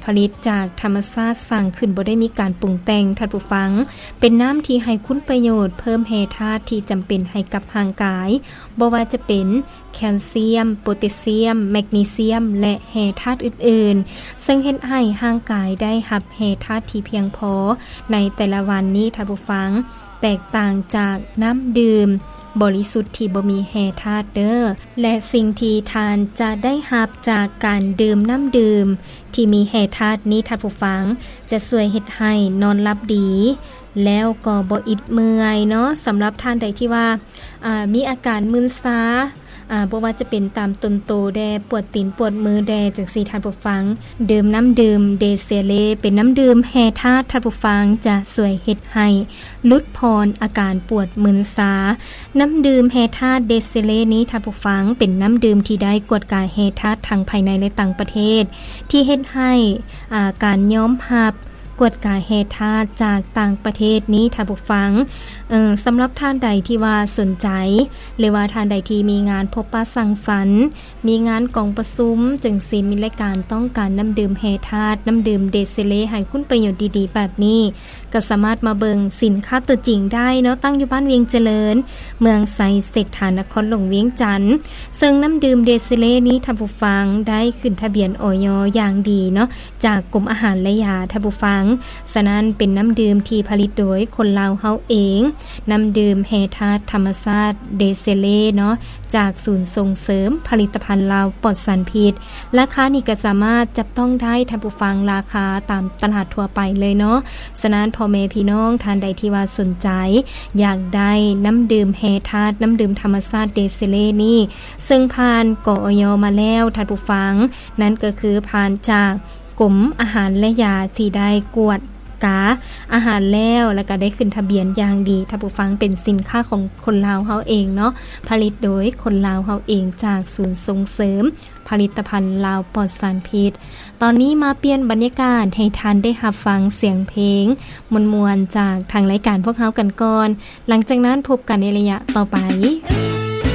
ຜະລິດຈາກທຳມະຊາດ ສ້າງຂຶ້ນບໍ່ໄດ້ມີການປຸງແຕ່ງ ທ່ານຜູ້ຟັງ, ເປັນນ້ຳທີ່ໃຫ້ຄຸນປະໂຫຍດ ເພີ່ມແຮ່ທາດທີ່ຈຳເປັນໃຫ້ກັບຮ່າງກາຍ, ບໍ່ວ່າຈະເປັນແຄລຊຽມ, ໂປແທສຊຽມ, ແມັກນີຊຽມ ແລະ ແຮ່ທາດອື່ນໆ, ເຊິ່ງເຮັດໃຫ້ຮ່າງກາຍໄດ້ຮັບແຮ່ທາດທີ່ພຽງພໍໃນແຕ່ລະວັນນີ້ ທ່ານຜູ້ຟັງ. ແຕກຕ່າງຈາກນ້ຳດື່ມບໍລິສຸດທີ່ບໍ່ມີແຮ່ທາດເດີ້ ແລະ ສິ່ງທີ່ທ່ານຈະໄດ້ຮັບຈາກການດື່ມນ້ຳດື່ມທີ່ມີແຮ່ທາດນີ້ ທ່ານຜູ້ຟັງ, ຈະຊ່ວຍເຮັດໃຫ້ນອນຫຼັບດີ ແລ້ວກໍບໍ່ອິດເມື່ອຍເນາະ. ສຳລັບທ່ານໃດທີ່ວ່າ ອາ ມີອາການມຶນຊາ ອາ ບໍ່ວ່າຈະເປັນຕາມຕົນໂຕແດ່, ປວດຕີນປວດມືແດ່ ຈັ່ງຊີ້ ທ່ານຜູ້ຟັງ, ດື່ມນ້ຳດື່ມເດເຊເລ ເປັນນ້ຳດື່ມແຮ່ທາດ ທ່ານຜູ້ຟັງ, ຈະຊ່ວຍເຮັດໃຫ້ຫຼຸດຜ່ອນອາການປວດມຶນຊາ. ນ້ຳດື່ມແຮ່ທາດເດເຊເລນີ້ ທ່ານຜູ້ຟັງ, ເປັນນ້ຳດື່ມທີ່ໄດ້ກວດກາແຮ່ທາດທັງພາຍໃນ ແລະ ຕ່າງປະເທດ ທີ່ເຮັດໃຫ້ ອາ ການຍອມຮັບ ກວດກາແຮ່ທາດຈາກຕ່າງປະເທດນີ້ ທ່ານຜູ້ຟັງ, ເອີ ສຳລັບທ່ານໃດທີ່ວ່າສົນໃຈ ຫຼືວ່າທ່ານໃດທີ່ມີງານພົບປະສັງສັນ, ມີງານກອງປະຊຸມ ຈຶ່ງຊິມີລາຍການຕ້ອງການນ້ຳດື່ມແຮ່ທາດ, ນ້ຳດື່ມເດເຊເລ ໃຫ້ຄຸນປະໂຫຍດດີໆແບບນີ້, ກໍສາມາດມາເບິ່ງສິນຄ້າຕົວຈິງໄດ້ເນາະ, ຕັ້ງຢູ່ບ້ານວຽງຈະເລີນ, ເມືອງໄຊເສດຖາ, ນະຄອນຫຼວງວຽງຈັນ. ເຊິ່ງນ້ຳດື່ມເດເຊເລນີ້ ທ່ານຜູ້ຟັງ, ໄດ້ຂຶ້ນທະບຽນ ອອຍ ຢ່າງດີເນາະ ຈາກກົມອາຫານ ແລະ ຢາ ທ່ານຜູ້ຟັງ. ສະນັ້ນເປັນນ້ຳດື່ມທີ່ຜະລິດໂດຍຄົນລາວເຮົາເອງ, ນ້ຳດື່ມແຮ່ທາດທຳມະຊາດເດເຊເລເນາະ, ຈາກສູນສົ່ງເສີມຜະລິດຕະພັນລາວປອດສານພິດ. ລາຄານີ້ກໍສາມາດຈັບຕ້ອງໄດ້ ທ່ານຜູ້ຟັງ, ລາຄາຕາມຕະຫຼາດທົ່ວໄປເລີຍເນາະ. ສະນັ້ນພໍ່ແມ່ພີ່ນ້ອງທ່ານໃດທີ່ວ່າສົນໃຈຢາກໄດ້ນ້ຳດື່ມແຮ່ທາດ, ນ້ຳດື່ມທຳມະຊາດເດເຊເລນີ້, ເຊິ່ງຜ່ານ ກອຍ ມາແລ້ວ ທ່ານຜູ້ຟັງ, ນັ້ນກໍຄືຜ່ານຈາກກົມອາຫານ ແລະ ຢາ ທີ່ໄດ້ກວດກາອາຫານແລ້ວ ແລ້ວກໍໄດ້ຂຶ້ນທະບຽນຢ່າງດີ ທ່ານຜູ້ຟັງ, ເປັນສິນຄ້າຂອງຄົນລາວເຮົາເອງເນາະ, ຜະລິດໂດຍຄົນລາວເຮົາເອງ ຈາກສູນສົ່ງເສີມ ຜະລິດຕະພັນລາວປອດສານພິດ. ຕອນນີ້ມາປ່ຽນບັນຍາກາດໃຫ້ທ່ານໄດ້ຮັບຟັງສຽງເພງມ່ວນໆ ຈາກທາງລາຍການພວກເຮົາກັນກ່ອນ. ຫຼັງຈາກນັ້ນພົບກັນໃນໄລຍະຕໍ່ໄປ.